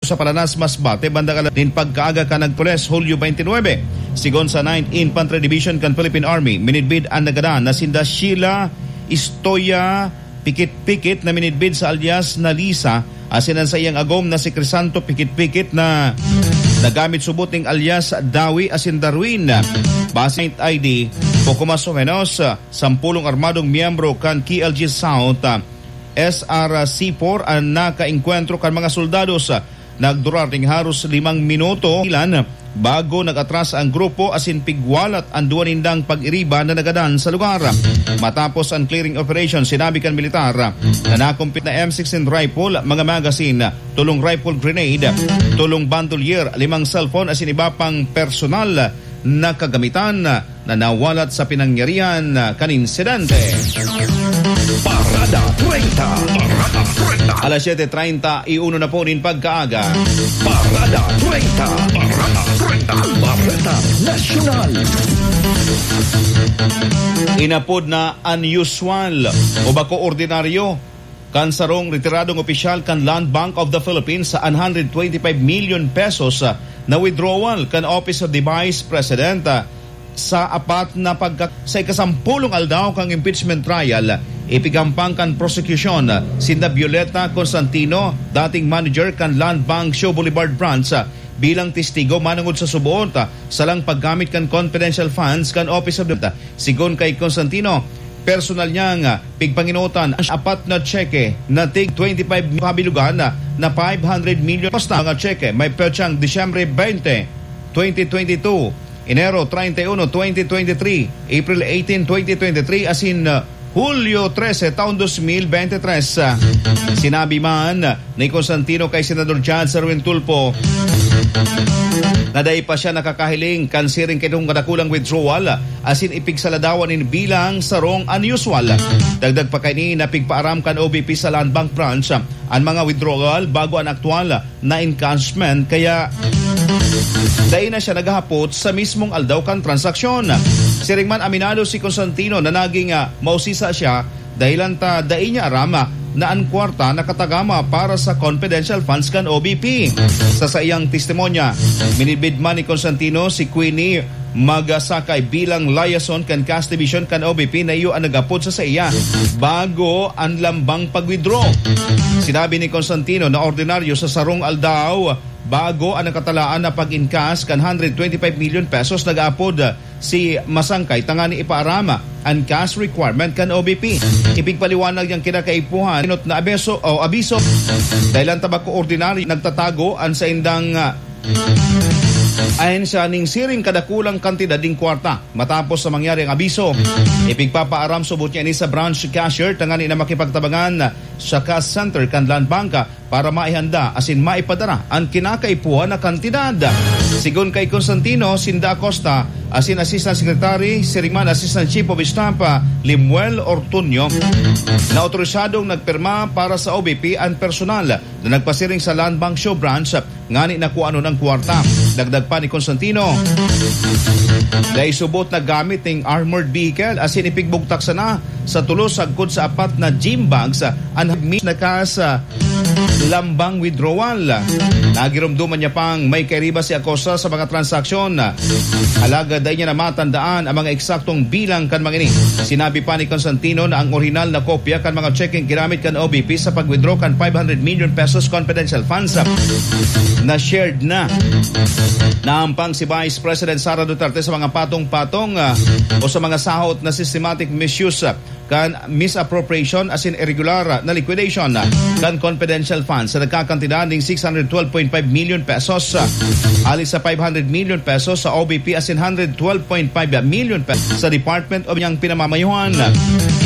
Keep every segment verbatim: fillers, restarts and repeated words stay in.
sa Palanas, Masbate, bandang alas nin pagkaaga kan nagpules, Hulyo twenty-nine. Sigon sa Ninth Infantry Division kan Philippine Army, minidbid an nagadan na sinda Sheila Istoya Pikit-Pikit na minidbid sa alias na Lisa, asin an saiyang agom na si Crisanto Pikit-Pikit na nagamit subot ning alias Dawi asin Darwin. Base sa I D, poco mas o menos, sampulong armadong miyembro kan K L G South, S R C four an nakaengkwentro kan mga soldados. Nagdurar ning haros limang minuto ilan bago nag-atras ang grupo asin pigwalat an duwa nindang pag-iriba na nagadan sa lugar. Matapos an clearing operation, sinabi kan militar na nakumpit na M sixteen rifle, mga magazine, tolong rifle grenade, tolong bandolier, limang cellphone asin iba pang personal na kagamitan na nawalat sa pinangyarihan kan insidente. Parada treinta. Parada treinta. Alas siyete treinta y uno na po nin pagkaaga. Parada treinta. Parada treinta. Bareta Nasyonal. Inapod na unusual o bako ordinaryo kan sarong retiradong opisyal kan Land Bank of the Philippines sa one hundred twenty-five million pesos, ah, na withdrawal kan Office of the Vice President, ah, sa apat na pagka-, sa ikasampulong aldaw kan impeachment trial, ipigampang kan prosekusyon, ah, sinda Violeta Constantino, dating manager kan Land Bank Show Boulevard Branch, ah, bilang testigo manongod sa subot, ah, sa lang paggamit kan confidential funds kan Office of the, sigon kay Constantino, personal niyang, ah, pigpangenotan ang apat na tseke na tig twenty-five kabilugan na, na five hundred million. Basta mga tseke may petsang Disyembre twenty, twenty twenty-two, Enero treinta y uno, twenty twenty-three, April eighteen, twenty twenty-three, asin, ah, Hulyo trese, taon dos mil bente tres. Ah, sinabi man ni Constantino kay Senador Chad Erwin Tulfo na dai pa siya nakakahiling kan siring kaidtong kadakulang withdrawal asin ipigsaladawan nin bilang sarong unusual. Dagdag pa kaini na pigpaaram kan O B P sa Land Bank Branch an mga withdrawal bago an aktual na encashment, kaya dai na siya naghahapot sa mismong aldaw kan transaksyon. Siring man, aminado si Constantino na naging, ah, mausisa siya dahilan ta dai niya aram, ah, na an kwarta nakatagama para sa confidential funds kan O B P. Sa saiyang testimonya, minidbid man ni Constantino si Queenie Magasakay bilang liaison kan cash division kan O B P na iyo an nag-apod sa saiya bago an lambang pag-withdraw. Sinabi ni Constantino na ordinaryo sa sarong aldaw, bago an nakatalaan na pag-encash kan hundred twenty-five million pesos, nag-aapod si Masangkay tangani ipaaram an cash requirement kan O B P. Ipigpaliwanag niyang kinakaipuhan, inot na abiso o abiso, dahilan ta bako ordinaryo nagtatago an saindang, ah, ahensya ning siring kadakulang kantidad ning kwarta. Matapos sa mangyari ang abiso, ipigpapaaram subot niya ini sa branch cashier tangani na makipagtabangan sa cash center kan Land Bank para maihanda asin maipadara an kinakaipuhan na kantidad. Sigon kay Constantino, sinda Acosta asin Assistant Secretary, siring man Assistant Chief of Staff, ah, Lemuel Ortuño, na otorisadong nagpirma para sa O B P an personal na nagpasiring sa Land Bank Show Branch ngani na kuanon ang kwarta. Dagdag pa ni Constantino, dai subot na gamit ning armored vehicle asin ipigbugtak sana sa tulos sagkod sa apat na gym bags an mis na kas lambang withdrawal. Nagiromdoman niya pang may kairiba si Acosta sa mga transaksyon. Alagad dai niya na matandaan ang mga eksaktong bilang kan mga ini. Sinabi pa ni Constantino na ang orihinal na kopya kan mga checking ginamit kan O B P sa pag-withdraw kan five hundred million pesos confidential funds na shared na. Naampang si Vice President Sara Duterte sa mga patong-patong, ah, o sa mga sahot na systematic misuse, ah, kan misappropriation asin irregular na liquidation kan confidential funds sa nagkakantidad ning six hundred twelve point five million pesos, ah, hali sa five hundred million pesos sa O B P asin hundred twelve point five million pesos sa Department of niyang pinamamayohan.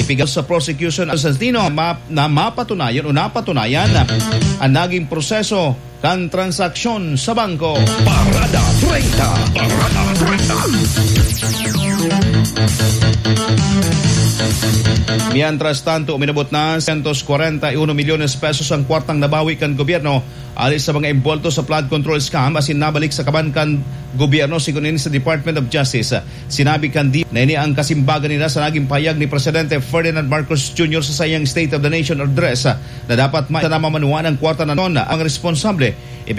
Ipigaw sa prosecution ang Santino ma-, na mapatunayan o napatunayan ang naging proseso kan transaksyon sa bangko. Parada treinta. Parada treinta. Mientras tanto, uminabot na cientos cuarenta y uno milyones pesos ang kwartang nabawi kan gobyerno hali sa mga imbolto sa flood control scam asin nabalik sa kaban kan gobyerno, sigon ini sa Department of Justice. Sinabi kan D-, na ini ang kasimbagan nila sa naging pahayag ni Presidente Ferdinand Marcos Junior sa saiyang State of the Nation Address, na dapat ma-, na mamanuan ang kwarta na non ang responsable. Ipig-